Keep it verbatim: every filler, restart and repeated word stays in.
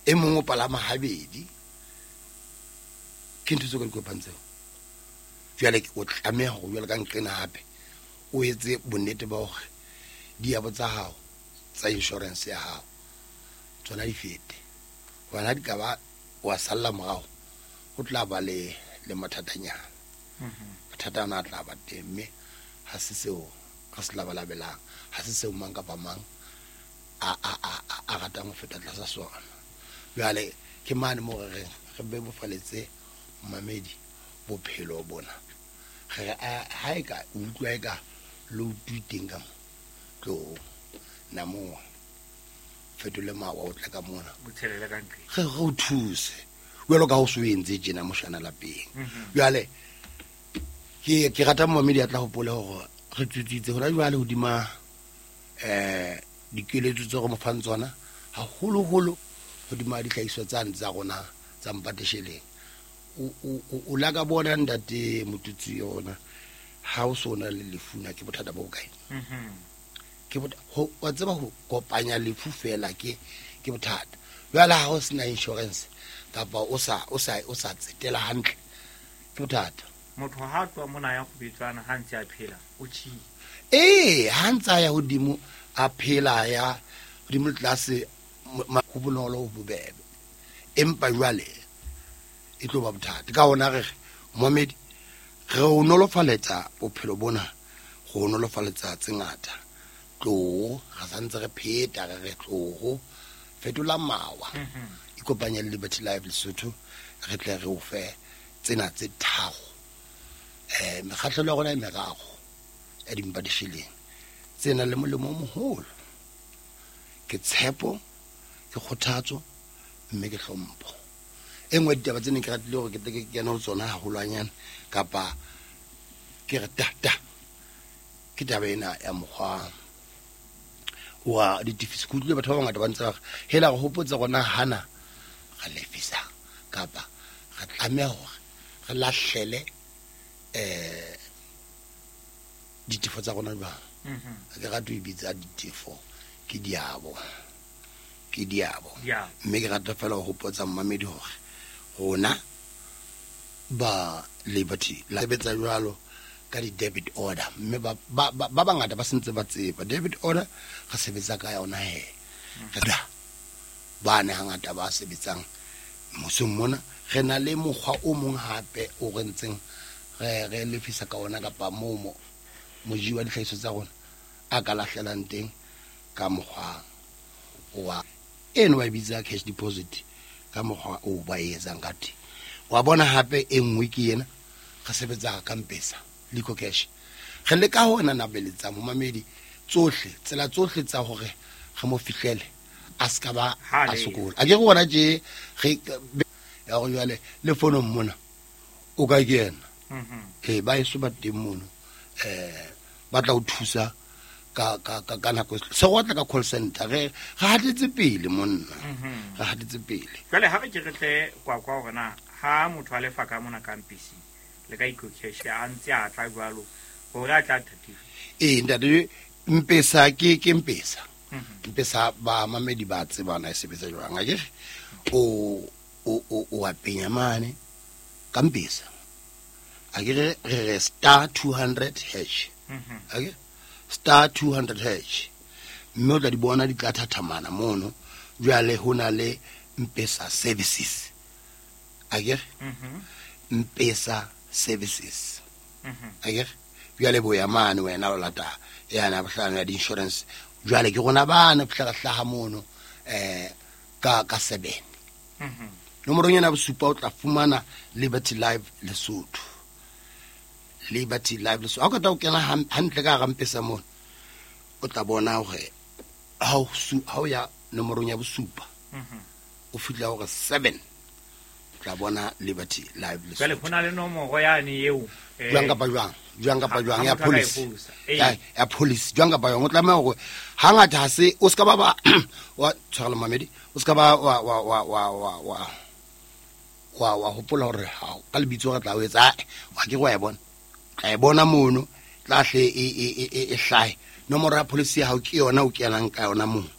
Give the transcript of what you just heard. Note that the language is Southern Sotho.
E mong o palama habedi. Ke ntho tseo ka di kopang tseo. Jwale o tlameha hore jwale ka nqena hape o etse bonnete ba hore diabo tsa hao tsa insurance ya hao tsona di fete. Hobane ha di ka ba wa salla morao, ho tla ba le le mathatanyana. Mathata ana a tla ba teng, mme ha se seo re se labalabelang, ha se seo mang kapa mang a a a a ratang ho feta tlasa sona. Jwale ke mane moo re reng re bebofaletse momamedi bophelo bona. Re re ha e ka o utlwa e ka load teng ka mo, tlo namoha fetole mawa o tle ka mona, o tshelele ka ntle, re re o thuse jwalo ka ho so entse tjena moshana lapeng. Jwale ke ke rata momamedi a tla hopole hore re tsutsitse hona jwale hodima eh dikeletso tse re mo fang tsona, haholoholo hodima dihlahiswa tsane tsa rona tsa mpatesheleng. O o o la ka bona ntate Motutsi yona ha o so na le lefu na ke bothata bo kae? Ke bot ho wa tseba ho kopanya lefu fela ke ke bothata. Jwale ha o sena insurance kapa o sa o sa o sa tsetela hantle ke bothata. Motho ha tloha mona ya kgubetswana ha ntse a phela o tjhile. Eh, ha ntse a ya hodimo a phela ya hodimo tlase ho bonolo ho bobebe. Empa jwale e tlo ba bothata. Ka hona re momamedi re o nolofaletsa bophelo bona, re o nolofaletsa tse ngata. Tloho re santse re pheta re re tloho fetola mawa, ikopanye le Liberty Life Lesotho, re tle re o fe tsena tse tharo. Eh mekgahlelo ya rona e meraro ya dimpa disheleng tse nang le molemo o moholo. Ke tshepo, ke kgothatso, mme ke hlompho. E nngwe ditaba tse neng ke ratile hore ke tle ke kene ho tsona haholwanyane kapa ke re ta ta ke taba ena ya mokgwa wa ditefiso. Ke utlwile batho ba bangata ba ntse ba re hela re hopotse rona hana re lefisa kapa re tlameha hore re lahlele eh ditefo tsa rona jwang. Ha ke rate ho e bitsa ditefo, ke diabo, ke diabo. Mme ke rata fela ho hopotsa mmamedi hore rona ba Liberty la sebetsa jwalo ka di-debit order, mme ba ba ba bangata ba sentse ba tseba debit order re sebetsa ka yona he. Re ba ne hangata ba sebetsang mmusong mona, re na le mokgwa o mong hape o re ntseng re re lefisa ka ona kapa moo mo moji wa dihlahiswa tsa rona a ka lahlelang teng ka mokgwa wa eno ba e bitsa cash deposit, ka mokgwa o ba e etsang ka teng. Wa bona hape e nngwe ke ena re sebetsa ka M-Pesa Lico Cash. Re leka ho nanabeletsa momamedi tsohle tsela tsohle tsa hore re mo fihlele a ska ba a sokola. A ke re bona tje re ya hore jwale le fonong mona o ka kena. Eh ba eso ba teng mono eh ba tla o thusa ka ka ka ka nako se go tla ka call center. Re re hatetse pele monna, re hatetse pele. Jwale ha re ke re tle kwa kwa hore na ha motho a lefa ka mona ka M-Pesa le ka Eco Cash a ntse a tla jwalo hore a tla thatile. Eh ntate M-Pesa ke ke M-Pesa. M-Pesa ba mamedi ba tsebana e sebetsa jwang akere o o o o a penya mane ka M-Pesa. Akere re re star two hundred hash. Akere star two hundred hash. Mme o tla di bona di tla thathamana mono. Jwale ho na le M-Pesa services. Akere M-Pesa services. Akere jwale bo ya mane wena o lata yana bohlano ya di-insurance. Jwale ke rona bana fihla hlaha mono eh ka ka seven. Nomorong ena bosupa o tla fumana Liberty Life Lesotho. Liberty Life Lesotho. Ha o ka o kena hantle ka hara M-Pesa mono o tla bona hore ha o ha o ya nomorong ya bosupa o fihla hore seven tla bona Liberty Life Lesotho. Jwale ho na le nomoro yane eo jwang kapa jwang jwang kapa jwang ya police ya ya police jwang kapa jwang o tlameha hore hangata ha se o ska ba ba wa tshwarela mamedi o ska ba wa wa wa wa wa wa wa wa hopola hore ha ka lebitso re tla o etsa wa ke wa e bona tla e bona mono tla hle e e e e hlahe nomoro ya police ya hao ke yona o kenang ka yona mono.